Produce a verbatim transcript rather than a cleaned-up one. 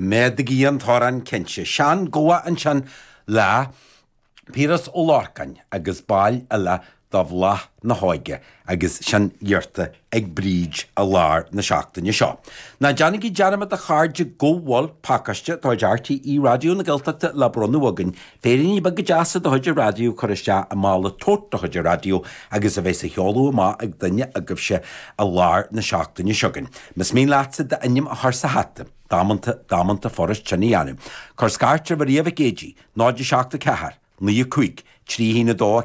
Méadaigí an torann cinnte. Sean-Goa ansin le Piaras Ó Lorcáin agus baill eile de Bhláth na hÓige agus sin iarrta ag Bríd i lár na seachtaine seo. Ná déanaigí dearmad a chairde go bhfuil pacáiste de chuid RTÉ Raidió na Gaeltachta le bronnadh againn, féiríní beaga deasa de chuid an raidió curtha isteach i mála tote de chuid an raidió agus a bheas á sheoladh amach ag duine agaibhse i lár na seachtaine seo chugainn. Más mian leatsa d'ainm a chur sa hata, damanta damanta furast sin a dhéanamh. Cuir scairt ar Mharia Mhic Géidigh, náid a seacht a ceathair, naoi a cúig, trí haon a dó